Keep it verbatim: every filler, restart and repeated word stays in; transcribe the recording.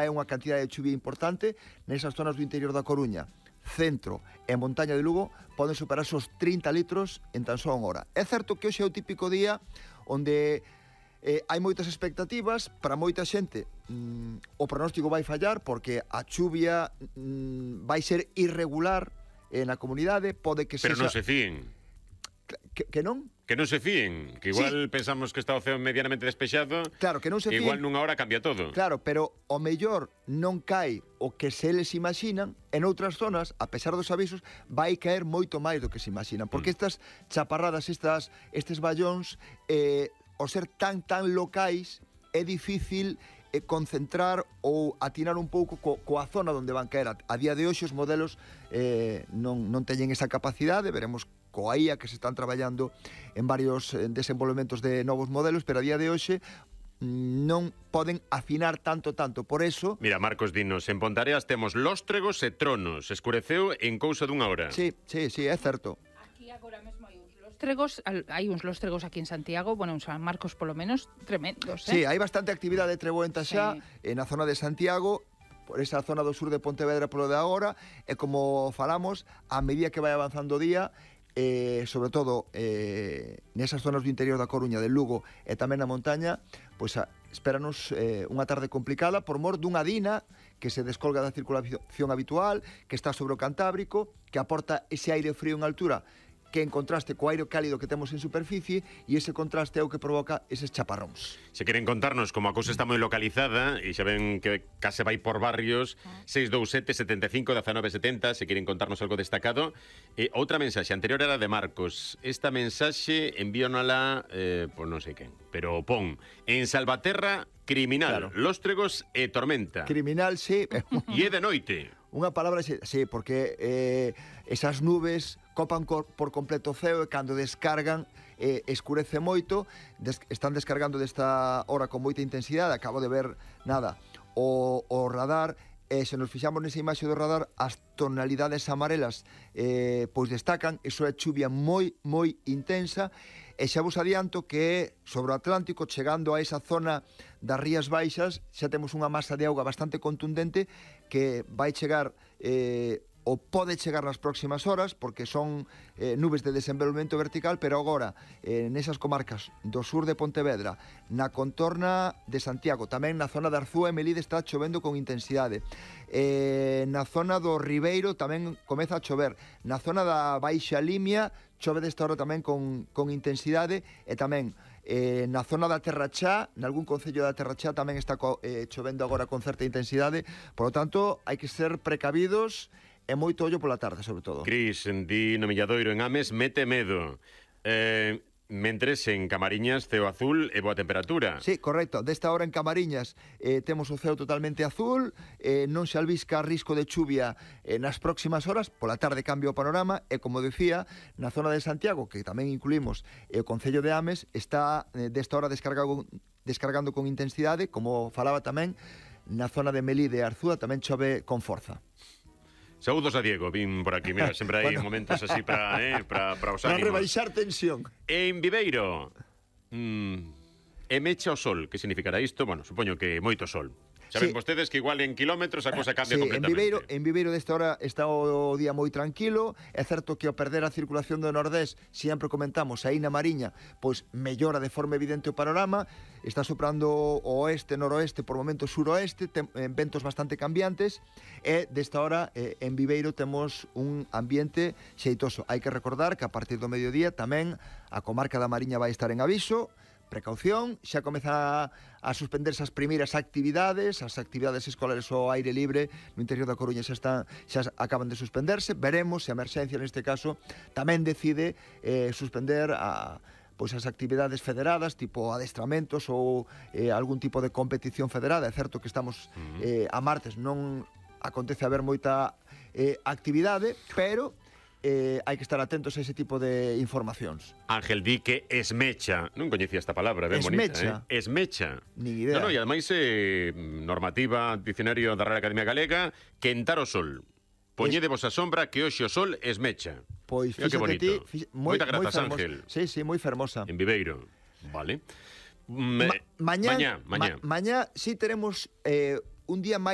é unha cantidade de chuvia importante nesas zonas do interior da Coruña, centro e montaña de Lugo poden superar os trinta litros en tan só unha hora. É certo que hoxe é o típico día onde eh, hai moitas expectativas, para moita xente mm, o pronóstico vai fallar porque a chuvia mm, vai ser irregular eh, na comunidade, pode que Pero sexa... non se fíen. Que, que non? Que non se fíen, que igual Sí. pensamos que está o ceo medianamente despexado, Claro, que non se igual fíen. nunha hora cambia todo. Claro, pero o mellor non cae o que se eles imaginan, en outras zonas, a pesar dos avisos, vai caer moito máis do que se imaginan, porque Mm. estas chaparradas, estas estes ballóns, eh, ao ser tan tan locais, é difícil eh, concentrar ou atinar un pouco co, coa zona onde van caer. A, a día de hoxe os modelos eh, non, non teñen esa capacidade, veremos coa I A que se están traballando en varios eh, desenvolvementos de novos modelos, pero a día de hoxe non poden afinar tanto, tanto. Por eso... Mira, Marcos, dinos, en Pontareas temos lóstregos e tronos. Escureceu en cousa dunha hora. Sí, sí, sí, é certo. Aquí agora mesmo hai uns lóstregos, al- hai uns lóstregos aquí en Santiago, bueno, en San Marcos polo menos, tremendos, Sí, eh? hai bastante actividade treboenta xa Sí. eh, na zona de Santiago, por esa zona do sur de Pontevedra polo de agora, e como falamos, a medida que vai avanzando o día, eh, sobre todo eh, nesas zonas do interior da Coruña, del Lugo e tamén na montaña, pois a, espéranos eh, unha tarde complicada por mor dunha dina que se descolga da circulación habitual, que está sobre o Cantábrico, que aporta ese aire frío en altura, que en contraste co aire cálido que temos en superficie, e ese contraste é o que provoca eses chaparróns. Se queren contarnos como a cousa está moi localizada, e xa ven que case vai por barrios, seis dous sete, setenta e cinco, dezanove setenta, se queren contarnos algo destacado. E outra mensaxe, anterior era de Marcos. Esta mensaxe envíonala, eh, pois non sei quen, pero pon, en Salvaterra, criminal, Claro. lóstregos e tormenta. Criminal, sí, E é de noite. unha palabra, sí, sí, porque eh, esas nubes copan cor, por completo o ceo e cando descargan eh, escurece moito, des, están descargando desta hora con moita intensidade, acabo de ver, nada, o, o radar, e se nos fixamos nesa imaxe do radar, as tonalidades amarelas eh, pois destacan, iso é chuvia moi, moi intensa, e xa vos adianto que sobre o Atlántico, chegando a esa zona das Rías Baixas, xa temos unha masa de auga bastante contundente que vai chegar eh, ou pode chegar nas próximas horas, porque son eh, nubes de desenvolvemento vertical, pero agora, eh, nesas comarcas do sur de Pontevedra, na contorna de Santiago, tamén na zona de Arzúa e Melide está chovendo con intensidade. Eh, na zona do Ribeiro tamén comeza a chover. Na zona da Baixa Limia, chove desta hora tamén con, con intensidade, e tamén eh, na zona da Terrachá, nalgún concello da Terrachá tamén está co, eh, chovendo agora con certa intensidade. Por lo tanto, hai que ser precavidos e moito ollo pola tarde, sobre todo. Cris, di no Milladoiro en Ames, mete medo. Eh, mentres en Camariñas, ceo azul e boa temperatura. Sí, correcto. Desta hora en Camariñas eh, temos o ceo totalmente azul, eh, non se albisca risco de chuvia eh, nas próximas horas, pola tarde cambia o panorama, e como decía, na zona de Santiago, que tamén incluímos eh, o concello de Ames, está eh, desta hora descargado, descargando con intensidade, como falaba tamén, na zona de Melide e Arzúa tamén chove con forza. Saúdos a Diego, vin por aquí, mira, sempre hai Bueno. momentos así para eh, para para os Para ánimos. rebaixar tensión. En Viveiro, mm, e mecha o sol, que significará isto? Bueno, supoño que moito sol. Saben Sí. vostedes que igual en kilómetros a cosa cambia Sí, en completamente. Viveiro, en Viveiro desta hora está o día moi tranquilo. É certo que ao perder a circulación do Nordés, sempre comentamos, aí na Mariña, pois mellora de forma evidente o panorama. Está soprando o oeste, noroeste, por momentos suroeste, ten eh, ventos bastante cambiantes, e desta hora eh, en Viveiro temos un ambiente xeitoso. Hai que recordar que a partir do mediodía tamén a comarca da Mariña vai estar en aviso. Precaución, xa comeza a, a suspenderse as primeiras actividades, as actividades escolares ao aire libre no interior da Coruña xa están, xa acaban de suspenderse. Veremos se a emerxencia neste caso tamén decide eh, suspender a pois as actividades federadas, tipo adestramentos ou eh, algún tipo de competición federada. É certo que estamos eh, a martes, non acontece haber moita eh, actividade, pero eh, hai que estar atentos a ese tipo de informacións. Ángel di que esmecha. Non coñecía esta palabra, ben Esmecha. bonita, eh? Esmecha. Nin idea. No, no, e ademais eh, normativa, dicionario da Real Academia Galega, quentar o sol. Poñedevos a sombra que hoxe o sol esmecha. Pois Mira que fíxate bonito. ti, fix, moi, Moita moi grazas, fermosa. Ángel. Sí, sí, moi fermosa. En Viveiro. Vale. Mm, Ma eh, mañá, mañá, mañá. Ma mañá sí teremos eh, un día máis